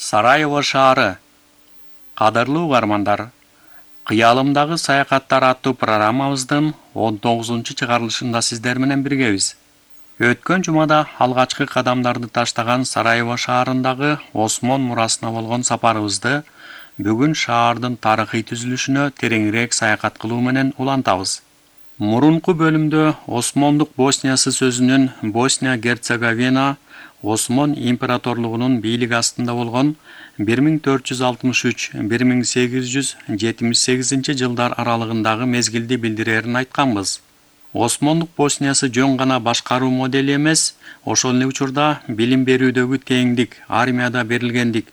Сараево шаары. Кадырлуу угармандар, Кыялымдагы саякаттар аттуу программабыздын 19-чыгарылышында сиздер менен биргебиз. Өткөн жумада алгачкы кадамдарды таштаган Сараево шаарындагы Осмон мурасына болгон сапарыбызды бүгүн шаардын тарыхый түзүлүшүнө тереңирээк саякат кылуу менен улантабыз. Мурунку бөлүмдө Осмондук Босниясы сөзүнүн Босния-Герцеговина Осмон императорлугунун бийлиги астында болгон 1463-1878 жылдар аралыгындагы мезгилди билдирээрин айтканбыз. Осмондук Босниясы жөн гана башкаруу модели эмес, ошол эле учурда билим берүүдөгү теңдик, армияда берилгендик,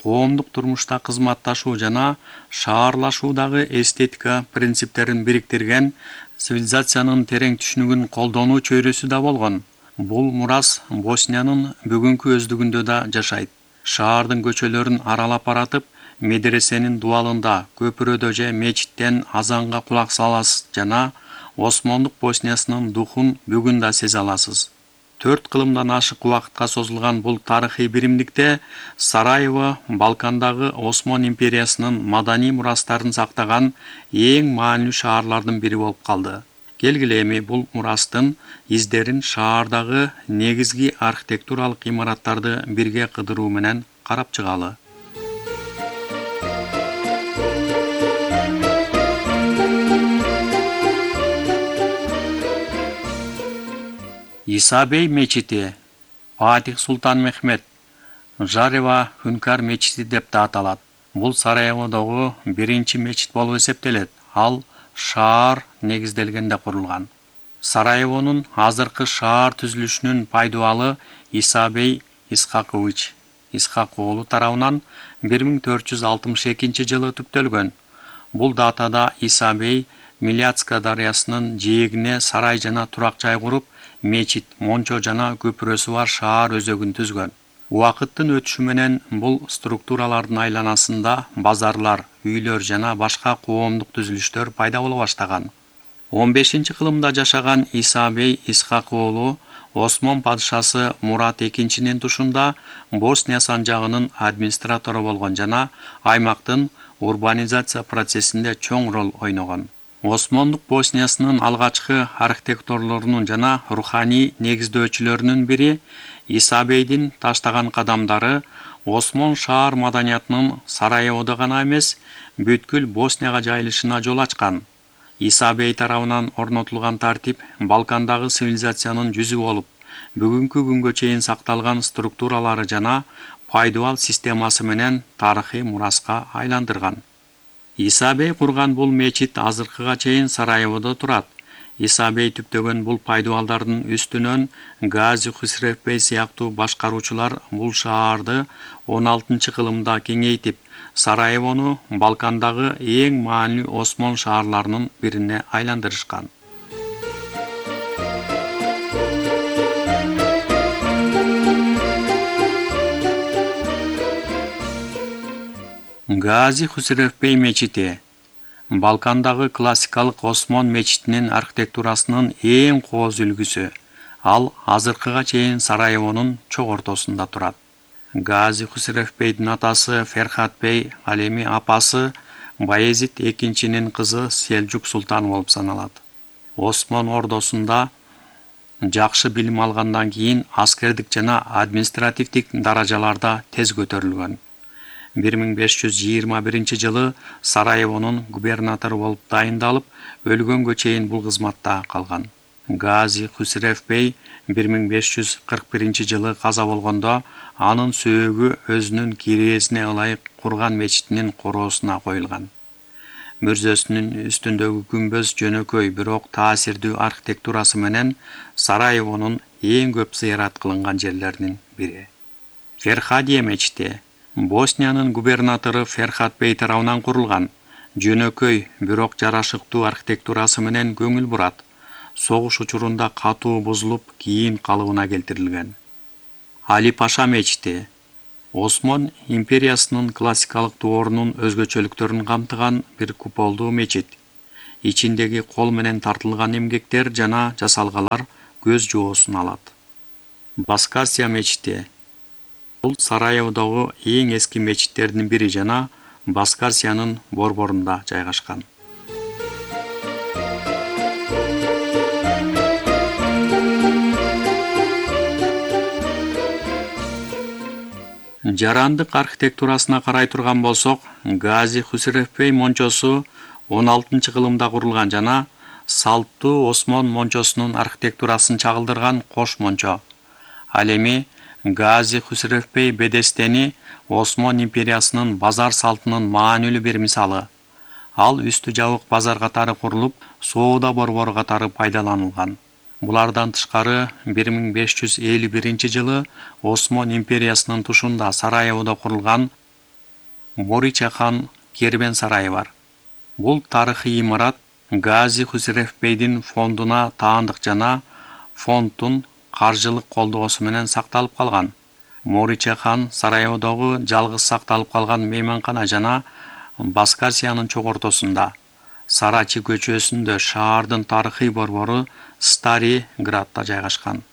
коомдук турмушта кызматташуу жана шаарлашуудагы эстетика принциптерин бириктирген цивилизациянын терең түшүнүгүн колдонуу чөйрөсү да болгон. Бул мурас Босниянын бүгүнкү өздүгүндө да жашайт. Шаардын көчөлөрүн аралап баратып, медресенин дуалында, көпүрөдө же мечиттен азанга кулак саласыз жана Осмондук Босниясынын духун бүгүн да сезе аласыз. 4 кылымдан ашык убакытка созулган бул тарыхый биримдикте Сараево Балкандагы Осмон империясынын маданий мурастарын сактаган эң маанилүү шаарлардын бири болуп калды. Келгиле эми бул мурастын издерин шаардагы негизги архитектуралык имараттарды бирге кыдыруу менен карап чыгалы. Исабей мечити, Фатих Султан Мехмет, Жарева Хүнкар мечити деп да аталат. Бул Сараеводогу биринчи мечит болуп эсептелет. Ал шаар негизделгенде курулган. Сараевонун азыркы шаар түзүлүшүнүн пайдубалы Исабей Исхакович Исхакоолу тарабынан 1462 жылы түптөлгөн. Бул датада Исабей Миляцка дарыясынын жээгине сарай жана турак жай куруп, мечит, мончо жана көпүрөсү бар шаар өзөгүн түзгөн. Убакыттын өтүшү менен бул структуралардын айланасында базарлар, үйлөр жана башка коомдук түзүлүштөр пайда боло баштаган. 15-кылымда жашаган Исабей Исхакоолу Осмон падышасы Мурат II тушунда Босния санжагынын администратору болгон жана аймактын урбанизация процессинде чоң роль ойногон. Осмондук Босниясынын алгачкы архитекторлорунун жана руханий негиздөөчүлөрүнүн бири Исабейдин таштаган кадамдары Осмон шаар маданиятынын Сараеводо гана эмес, бүткүл Боснияга жайылышына жол ачкан. Исабей тарабынан орнотулган тартип Балкандагы цивилизациянын жүзү болуп, бүгүнкү күнгө чейин сакталган структуралары жана пайдубал системасы менен тарыхый мураска айландырган. Исабей курган бул мечит азыркыга чейин Сараеводо турат. Исабей түптөгөн бул пайдубалдардын үстүнөн Гази Хусрев бей сыяктуу башкаруучулар бул шаарды 16-кылымда кеңейтип, Сараевону Балкандагы эң маанилүү Осмон шаарларынын бирине айландырышкан. Гази Хусрев бей мечити Балкандагы классикалык Осмон мечитинин архитектурасынын эң кооз үлгүсү. Ал азыркыга чейин Сараевонун чок ортосунда турат. Гази Хусрев бейдин атасы Ферхат бей, ал эми апасы Баязид II кызы Селжук султан болуп саналат. Осмон ордосунда жакшы билим алгандан кийин аскердик жана административдик даражаларда тез көтөрүлгөн. 1521 жылы Сараевонун губернатору болуп дайындалып, өлгөнгө чейин бул кызматта калган. Гази Хусрев бей 1541 жылы каза болгондо анын сөөгү өзүнүн кирээсине ылайык курган мечитинин короосуна коюлган. Мүрзөсүнүн үстүндөгү күмбөз жөнөкөй, бирок таасирдүү архитектурасы менен Сараевонун эң көп зыярат кылынган жерлеринин бири. Ферхадия мечити Босниянын губернатору Ферхат бей тарабынан курулган. Жөнөкөй, бирок жарашыктуу архитектурасы менен көңүл бурат. Согуш учурунда катуу бузулуп, кийин калыбына келтирилген. Али Паша мечити Осмон империясынын классикалык доорунун өзгөчөлүктөрүн камтыган бир куполдуу мечит. Ичиндеги кол менен тартылган эмгектер жана жасалгалар көз жоосун алат. Баскасия мечити Бул Сараеводогу эң эски мечиттердин бири жана Баскарсиянын борборунда жайгашкан. Жарандык архитектурасына карай турган болсок, Гази Хусрев бей мончосу 16-кылымда курулган жана салттуу Осмон мончосунун архитектурасын чагылдырган кош мончо. Ал эми Гази Хусрев бей Бедестени Осмон империясынын базар салтынын маанилүү бир мисалы. Ал үстү жабык базар катары курулуп, соода борбору катары пайдаланылган. Булардан тышкары 1551-жылы Осмон империясынын тушунда Сараеводо курулган Мориче хан кербен сарайы бар. Бул тарыхый имарат Гази Хусрев бейдин фондуна таандык жана фонддун каржылык колдоосу менен сакталып калган. Мориче хан Сараеводогу жалгыз сакталып калган мейманкана жана Баскарсиянын чок ортосунда, Сарачи көчөсүндө шаардын тарыхый борбору Старый Градда жайгашкан.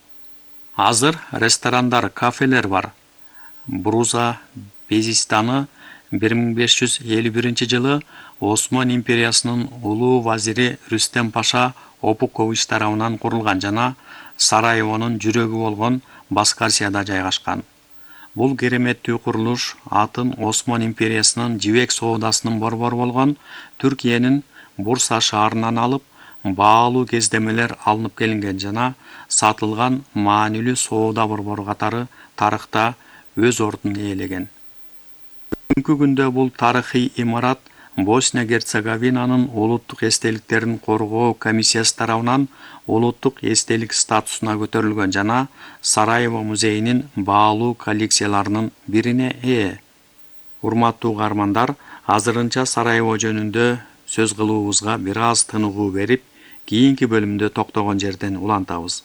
Азыр ресторандар, кафелер бар. Бруза Безистаны 1551-жылы Осмон империясынын улуу вазири Рүстем Паша Опукович тарабынан курулган жана Сараевонун жүрөгү болгон Баскарсияда жайгашкан. Бул кереметтүү курулуш атын Осмон империясынын жибек соодасынын борбору болгон Түркиянын Бурса шаарынан алып, баалуу кездемелер алынып келинген жана сатылган маанилүү соода борбору катары тарыхта өз ордун ээлеген. Бүгүнкү күндө бул тарыхый имарат Босния-Герцеговинанын улуттук эстеликтерин коргоо комиссиясы тарабынан улуттук эстелик статусуна көтөрүлгөн жана Сараево музейинин баалуу коллекцияларынын бирине ээ. Урматтуу угармандар, азырынча Сараево жөнүндө сөз кылуубузга бир аз тыныгуу берип, кийинки бөлүмдө токтогон жерден улантабыз.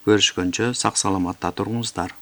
Көрүшкөнчө сак саламатта туруңуздар.